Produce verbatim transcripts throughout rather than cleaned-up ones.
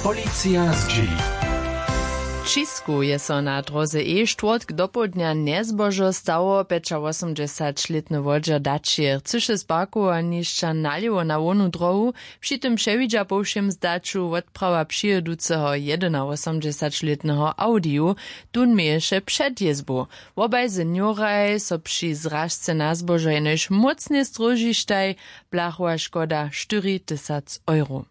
Policija zdźěli. W Čisku je so na dróze e štwórtk dopołdnja njezbožo stało. Pjećawosomdźesaćlětny wodźer daći chcyše z parkowanišća nalěwo na hłownu dróhu. Při tym přewidźa po wšěm zdaću wotprawa přijěduceho jedynawosomdźesaćlětneho audiju. Tón měješe před jězbu. Wobaj senioraj so při zražce na zbožo jenož mócnje stróžištaj. Blachowa škoda štyri tysac euro.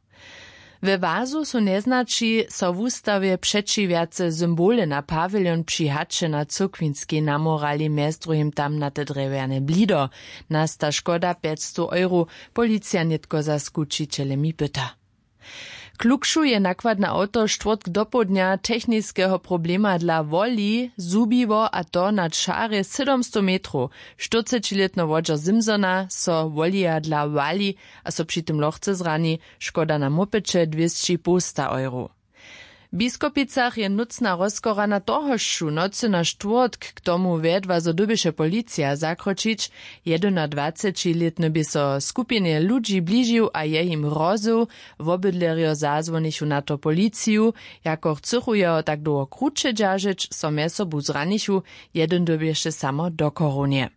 We wazu su njeznaći so w wustawje přećiwjace symbole na pawiljon při haće na cyrkwinskej namorali mjez druhim tamnate drjewjane blido. Nasta škoda pjećstow euro. Policija nětko za skućićelemi pyta. Klukšu je nakładne awto štwórtk dopołdnja techniskeho problema dla woli zhubiło, a to na čarje sydomstow metrow. Štyrcećilětny wodźer simsona so wolija dla wali a so při tym lochce zrani. Škoda na mopyće dwěsći połsta euro. W Biskopicach je nócna rozchora na tohožšu nocy na štwórtk k tomu wjedła zo dyrbješe policija zakročić. Jedynadwacećilětny bě so skupinje ludźi bližił a je jim hrozył. Wobydlerjo zazwonichu na to policiju. Jako chcychu jeho tak dołho kruće dźeržeć, so mjez sobu zranichu. Jedyn dyrbješe samo do chorownje.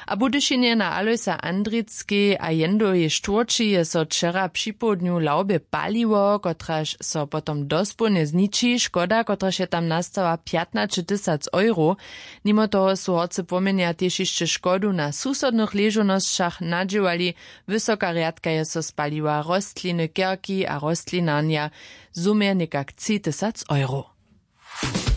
A w Budyšinje na Alojsa Andrickej a Jendowej štwórći je so wčera připołdnju lawbje paliło, kotraž so potom dospołnje zniči. Škoda, kotraž je tam nastała, pjatnaće tysac euro. Nimo toho su horcy pomjenja tež hišće škodu na susodnych ležownosćach nadźěłali. Wysoka rjadka je so spaliła, rostliny, kerki a rostlinarnja zhumje někak tři tysac euro.